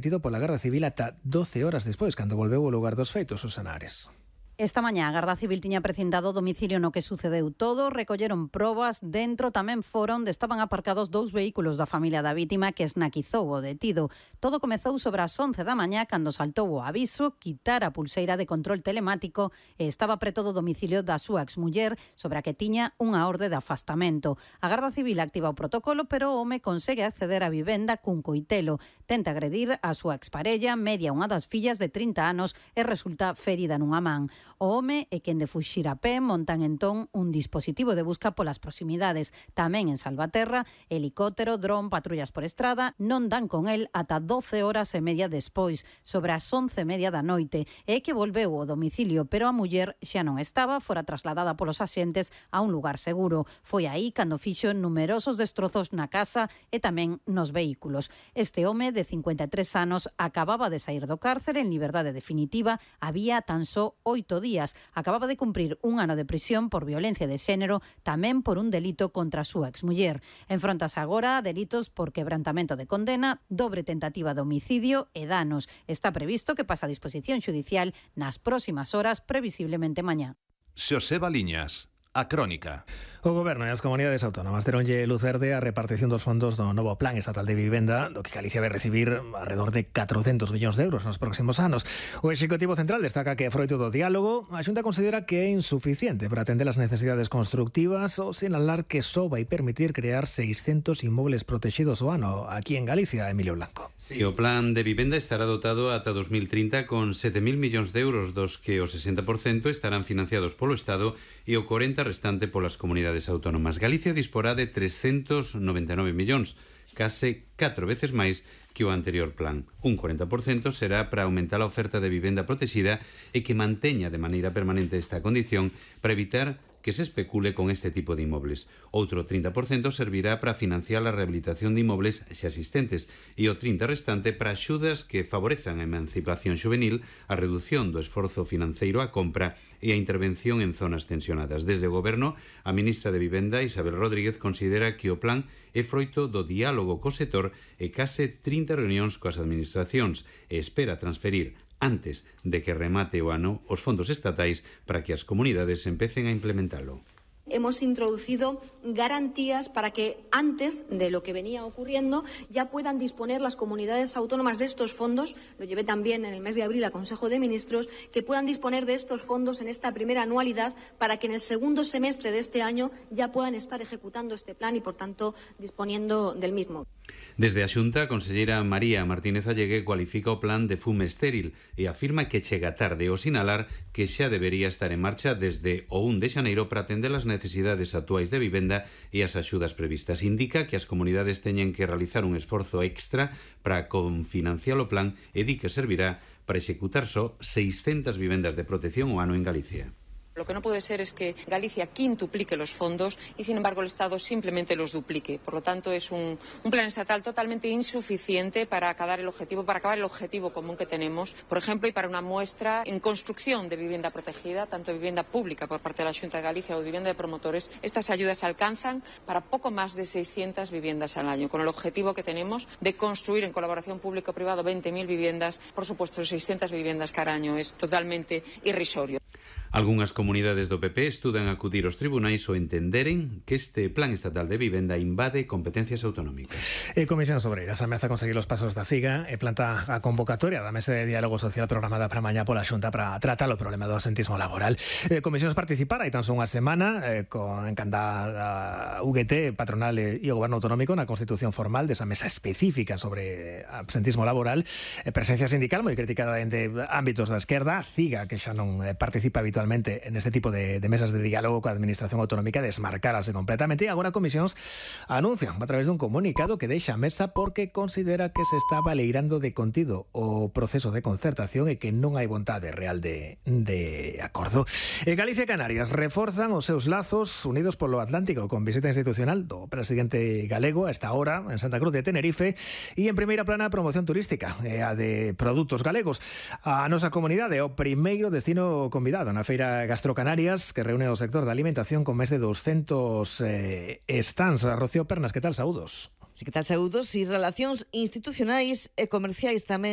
detido pola Garda Civil ata 12 horas despois, cando volveu ao lugar dos feitos, Susana Ares. Esta mañá a Garda Civil tiña precintado o domicilio no que sucedeu todo, recolleron probas, dentro tamén foron onde estaban aparcados 2 vehículos da familia da vítima que esnaquizou o detido. Todo comezou sobre as 11 da mañá cando saltou o aviso, quitar a pulseira de control telemático e estaba preto do domicilio da súa exmuller, sobre a que tiña unha orde de afastamento. A Garda Civil activa o protocolo, pero o home consegue acceder á vivenda cun coitelo. Tenta agredir a súa exparella, media unha das fillas de 30 anos e resulta ferida nunha man. O home e quen de fuxir a pé montan entón un dispositivo de busca polas proximidades. Tamén en Salvaterra, helicóptero, dron, patrullas por estrada non dan con el ata 12 horas e media despois, sobre as 11:30 da noite. É que volveu ao domicilio, pero a muller xa non estaba, fora trasladada polos axentes a un lugar seguro. Foi aí cando fixo numerosos destrozos na casa e tamén nos vehículos. Este home de 53 anos acababa de sair do cárcere en liberdade definitiva, había tan só 8 días. Acababa de cumprir un ano de prisión por violencia de xénero, tamén por un delito contra a súa exmuller. Enfróntase agora a delitos por quebrantamento de condena, dobre tentativa de homicidio e danos. Está previsto que pase a disposición xudicial nas próximas horas, previsiblemente mañá. Xoseba Liñas, A Crónica. O Goberno e as comunidades autónomas deronlle luz verde a repartición dos fondos do novo Plan Estatal de Vivenda, do que Galicia vai recibir alrededor de 400 millóns de euros nos próximos anos. O Executivo Central destaca que, froito do diálogo, a Xunta considera que é insuficiente para atender as necesidades constructivas ou sinalar que só vai permitir crear 600 inmobles protegidos ao ano aquí en Galicia, Emilio Blanco. Sí, o Plan de Vivenda estará dotado ata 2030 con 7.000 millóns de euros, dos que o 60% estarán financiados polo Estado e o 40% restante polas comunidades autónomas. Galicia disporá de 399 millóns, case 4 veces máis que o anterior plan. Un 40% será para aumentar a oferta de vivenda protegida e que manteña de maneira permanente esta condición para evitar que se especule con este tipo de inmobles. Outro 30% servirá para financiar a rehabilitación de inmobles xa existentes e o 30% restante para axudas que favorezan a emancipación xuvenil, a reducción do esforzo financeiro á compra e a intervención en zonas tensionadas. Desde o Goberno, a ministra de Vivenda, Isabel Rodríguez, considera que o plan é froito do diálogo co sector e case 30 reunións coas administracións e espera transferir antes de que remate o ano os fondos estatais para que as comunidades empecen a implementalo. Hemos introducido garantías para que antes de lo que venía ocurriendo ya puedan disponer las comunidades autónomas de estos fondos, lo llevé también en el mes de abril al Consejo de Ministros, que puedan disponer de estos fondos en esta primera anualidad para que en el segundo semestre de este año ya puedan estar ejecutando este plan y, por tanto, disponiendo del mismo. Desde a Xunta, a conselleira María Martínez Allegue cualifica o plan de fume estéril e afirma que chega tarde ao sinalar que xa debería estar en marcha desde o 1 de xaneiro para atender as necesidades actuais de vivenda e as axudas previstas. Indica que as comunidades teñen que realizar un esforzo extra para confinanciar o plan e di que servirá para executar só 600 vivendas de protección ao ano en Galicia. Lo que no puede ser es que Galicia quintuplique los fondos y, sin embargo, el Estado simplemente los duplique. Por lo tanto, es un plan estatal totalmente insuficiente para acabar el objetivo común que tenemos, por ejemplo, y para una muestra en construcción de vivienda protegida, tanto vivienda pública por parte de la Xunta de Galicia o vivienda de promotores. Estas ayudas alcanzan para poco más de 600 viviendas al año, con el objetivo que tenemos de construir en colaboración público-privado 20.000 viviendas. Por supuesto, 600 viviendas cada año es totalmente irrisorio. Algunhas comunidades do PP estudan acudir aos tribunais ou entenderen que este plan estatal de vivenda invade competencias autonómicas. Comisións Obreiras ameaza conseguir os pasos da CIGA e planta a convocatoria da Mesa de Diálogo Social programada para mañá pola Xunta para tratar o problema do absentismo laboral. Comisións participar hai tan só unha semana con encanda a UGT, patronal e o Goberno Autonómico na constitución formal desa mesa específica sobre absentismo laboral. Presencia sindical moi criticada dende ámbitos da esquerda, CIGA, que xa non participa habitualmente en este tipo de mesas de diálogo coa administración autonómica, desmarcarase completamente, e agora a Comisións anuncian a través dun comunicado que deixa a mesa porque considera que se está baleirando de contido o proceso de concertación e que non hai vontade real de acordo. Galicia e Canarias reforzan os seus lazos unidos polo Atlántico con visita institucional do presidente galego a esta hora en Santa Cruz de Tenerife e en primeira plana a promoción turística a de produtos galegos. A nosa comunidade é o primeiro destino convidado na Feira Gastrocanarias, que reúne o sector da alimentación con máis de 200 stands. Rocío Pernas, que tal? Saúdos. Sí, que tal? Saúdos e relacións institucionais e comerciais tamén